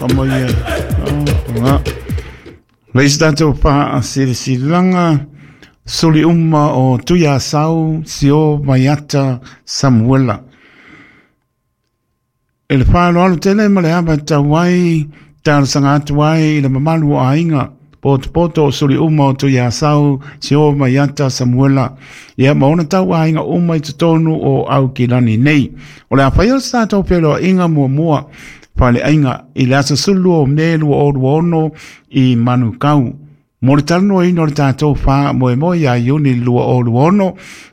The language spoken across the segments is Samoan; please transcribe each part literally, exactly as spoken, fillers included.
Kama ia. Nga. Leisi tātou whaasilasilaga suli uma o Tuiasau Sio Maiata Samuela. E le whaaloalo tele ma le ava tau ai, talosaga atu ai i le mamalu o aiga, potopoto o suli uma o Tuiasau Sio Maiata Samuela. Ia ma ona tau aiga uma i totonu o Aukilani nei. O le a whai o se tātou feiloaiga muamua faleaiga i le aso sefulu o Me lua o lua ono i Manukau. Mo le talanoaina o le tātou faamoemoe ia Iuni lua o lua ono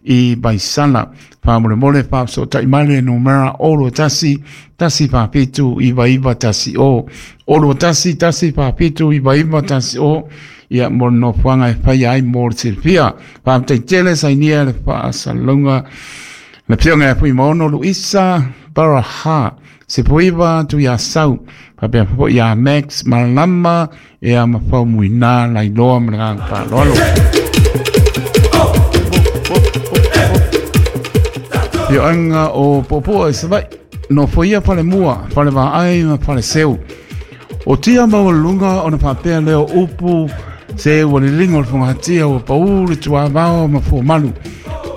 i Vaisala. Faamolemole faafesootai mai le numera olo tasi tasi faafitu iva iva tasi o. Olo tasi tasi faafitu iva iva tasi o. Ia mo le nofoaga e faia ai mo le silafia. Faafetai tele sainia le faasalalauga le afioga ia Fuimaono Luisa Baraha. Se puiva tu ia sau. Faapea foi ia Max Malama ia ma Faumuina Lailoa ma le agaga faaaloalo. Fioaga o Puapua i Savaii, nofoia falemua, falevaai ma faleseu. O tia maualuluga ona faapea lea o upu se ua liliga o le fogatia ua paū le tuavao ma fuamalu.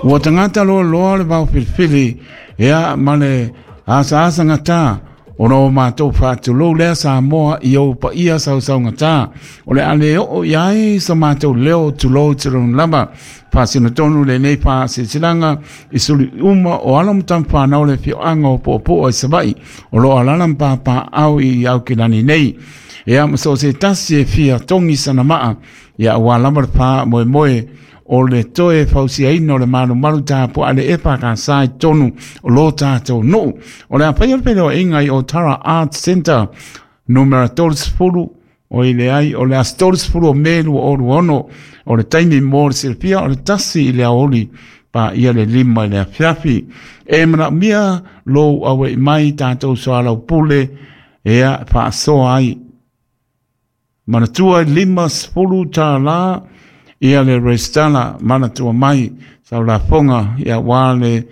Ua tagata loaloa le vao filifili ia ma le asaasa gata ona o matou faatulou lea Samoa i ou paia sausaugata. O le a le oo i ai sa matou leo tulou tulou lava. Faasinotonu lenei faasilasilaga i suli uma o alo ma tama fanau le afioaga o Puapua i Savaii o loo alaala ma papaau i Aukilani nei. Ia ma so o se tasi e fia togi sana maa ia ua lava le faamoemoe o le toe fausiaina o le malumalu tapuaa le efa ka sa i totonu o lo tātou nuu. O le a faia le feiloaiga i Otara Arts Centre numera thirty o i le ai o le aso thirty o Me lua o lua ono o le taimi mo le silafia o le tasi i le aoauli pa ia le lima i le afiafi. E manaomia lou aua'i mai tātou soalaupule ea faasoa ai. Manatua lima sefulu tālā ia le resitala manatua mai sau lafoga ia ua le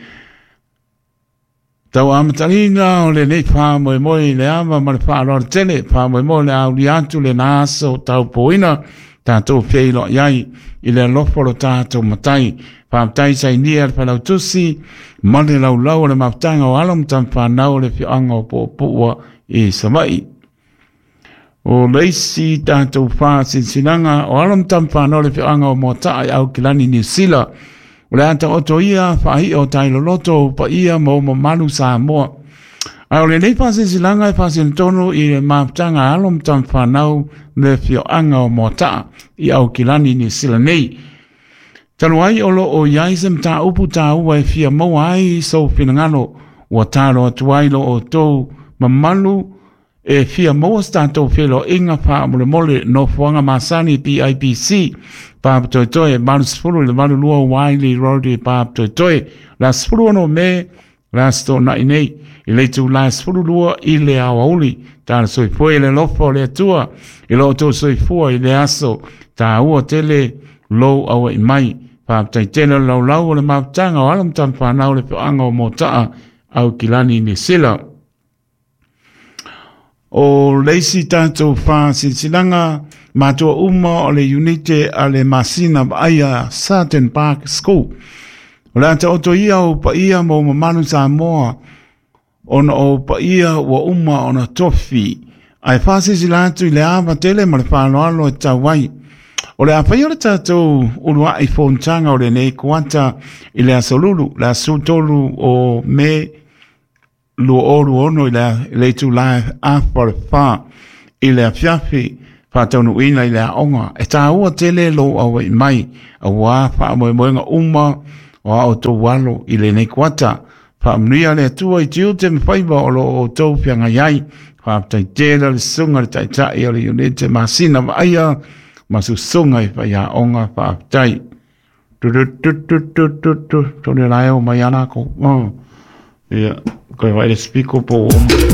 tau amataina o lenei faamoemoe i le ava ma le faaaloalo tele faamoemoe le aulia atu lena aso taupoina tatou feiloai ai i le alofa o lo tatou matai. Faafetai sainia le failautusi ma le laulau o le mafutaga o alo ma tama fanau o le afioaga o Puapua i Savaii. O le isi tātou faasilasilaga o alo ma tama fanau o le afioaga o Moataa i Aukilani, Niu Sila. O le a taoto ia faaia o tailoloto o paia ma o mamalu Samoa. Ae o lenei faasilasilaga e faasinotonu i le mafutaga a alo ma tama fanau le afioaga o Moataa i Aukilani, Niu Sila nei. Talu ai o loo i ai se mataupu taua e fia maua ai sou finagalo ua talo atu ai lo outou mamalu e fia maua se tatou feiloaiga faamolemole nofoaga masani P I P C Papatoetoe eight i le eighty-two Wiley Road i Papatoetoe le aso sixteen Me le aso toonai nei i le itula twelve i le aoauli. Tala soifua i le alofa o le Atua i lo outou soifua i le aso taua tele lou aua'i mai. Faafetai tele o le laulau o le mafutaga o alo ma tama fanau le afioaga o Moataa Aukilani, Niu Sila. O le isi tātou faasilasilaga matua uma o le unite a le masina vaaia Sutton Park School. O le a taoto ia o paia ma o mamalu Samoa ona o paia ua uma ona tofi. Ae faasilasila atu i le ava tele ma le faaaloalo e tau ai. O le a faia o le tātou uluai fonotaga o lenei kuata i le aso Lulu, le aso tolu o Me lua o lua ono i le itula afa o le whā i le afiafi faataunuuina i le aoga. E tāua tele lou aua'i mai auā faamoemoega uma o a outou alo i lenei kuata. Faamanuia le Atua i tiute ma faiva o loo outou feagai ai. Faafetai tele le susuga le taitai o le unite masina vaaia ma susuga i faiaoga faafetai. Tu tu tu tu tu tu tu tole lae o mai ana ko. Ia, koe vai le spiko po o.